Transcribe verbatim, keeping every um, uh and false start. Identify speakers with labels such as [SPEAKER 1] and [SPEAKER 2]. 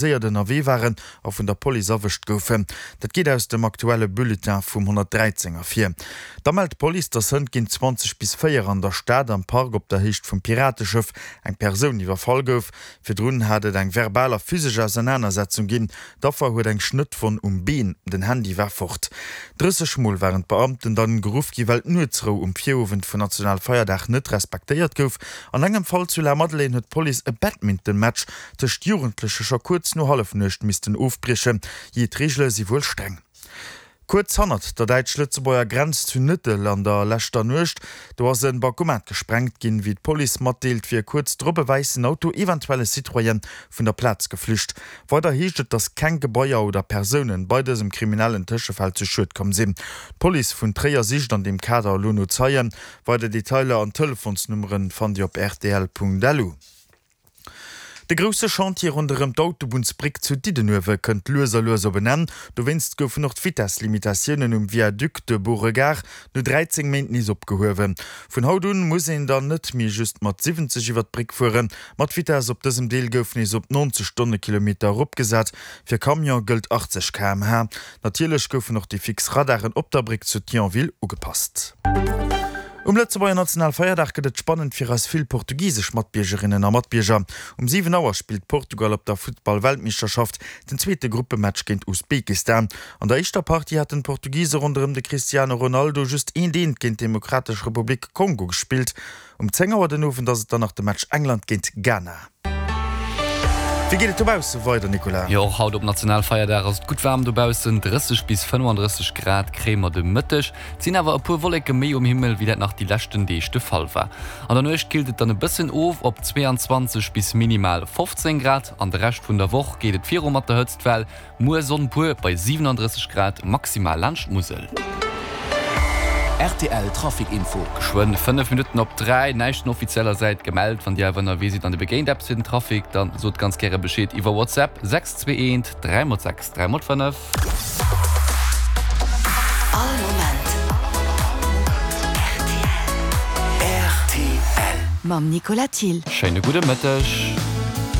[SPEAKER 1] Séiert ënnerwee waren a vun der Police erwëscht goufen. Dat geet aus dem aktuelle Bulletin vum honnertdräizéng ervir. Da mellt d'Police, datt hënt géint zwanzeg bis véier an der Stad am Park op der Héicht vum Pirateschëff eng Persoun iwwerfall gouf. Virdrun hat et eng verbal a physesch Ausernanersetzung ginn. D'Affer huet eng Schnëttwonn um Been, den Handy war fort. Drësseg Mol waren d'Beamten dann geruff gi well d'Nuetsrou um Virowend vun Nationalfeierdag net respektéiert gouf. An engem Fall zu Lamadelaine huet d'Police e Badminton-Match tëscht Jugendleche scho kuerz no Hallefnuecht missten ofbriechen. Jee, d'Reegele si wuel streng. Kuerz hannert der däitsch-lëtzebuerger Grenz zu Nëttel an der leschter Nuecht, do ass e Bancomat gesprengt ginn. Wéi d'Police matdeelt, wier kuerz drop e wäissen Auto, eventuell e Citroën, vun der Plaz geflücht. Weider heescht et, datt keng Gebaier oder Persounen bei dësem kriminellen Tëschefall zu Schued komm sinn. D'Police vun Tréier sicht an deem Kader elo no Zeien. Weider Detailer an Telefonsnummeren fannt Dir op rtl.lu. De grousse Chantier ronderëm d'Autobunnsbréck zu Diddenuewe kënnt lues a lues op en Enn. Dowéinst goufen och d'Vitesslimitatiounen um Viaduc de Beauregard no dräizéng Méint nees opgehuewen. Vun haut un muss een dann net méi just mat siwwenzeg iwwer d'Bréck fueren, ma d'Vitess op dësem Deel gouf nees op neunzeg Stonnekilometer eropgesat. Fir Camion gëllt achtzeg K M H. Natierlech goufen och déi fix Radaren op der Bréck zu Thionville ugepasst. Um Lëtzebuerger Nationalfeierdag gëtt et spannend fir eis vill portugisesch Matbiergerinnen a Matbierger. Um siwen Auer spillt Portugal op der Futtball-Weltmeeschterschaft den zweete Gruppematch géint Usbekistan. An der éischter Partie haten d'Portugise ronderëm de Cristiano Ronaldo just eent eent géint d'Demokratesch Republik Kongo gespillt. Um zéng Auer den Owend ass et dann nach de Match England géint Ghana. Wéi geet et dobausse weider, Nicolas?
[SPEAKER 2] Jo, och haut op Nationalfeierdag ass et gutt waarm dobaussen, drësseg bis fënnefandrësseg Grad kréie mer de Mëtteg. Et sinn awer e puer Wolleke méi um Himmel, wéi dat nach déi leschten Deeg de Fall war. An der Nuecht killt et dann e bëssen of op zweeanzwanzeg bis minimal fofzéng Grad. An de Rescht vun der Woch geet et viru mat der Hëtztwell, muer Sonn pur bei siwenandrësseg Grad maximal laanscht d'Musel.
[SPEAKER 3] Rtl Trafic Info.
[SPEAKER 2] Geschwënn fënnef Minutten op dräi, näischt vun offizieller Säit gemellt. Wann Dir awer ënnerwee sidd an Dir begéint eppes fir den Trafic, dann sot ganz gäre Bescheed iwwer WhatsApp, sechs zwee eent dräi mol sechs dräi mol fënnef.
[SPEAKER 4] All Moment rtl.
[SPEAKER 3] Rtl.
[SPEAKER 4] Mam Nicolas Thill.
[SPEAKER 2] Schéine gudde Mëtteg.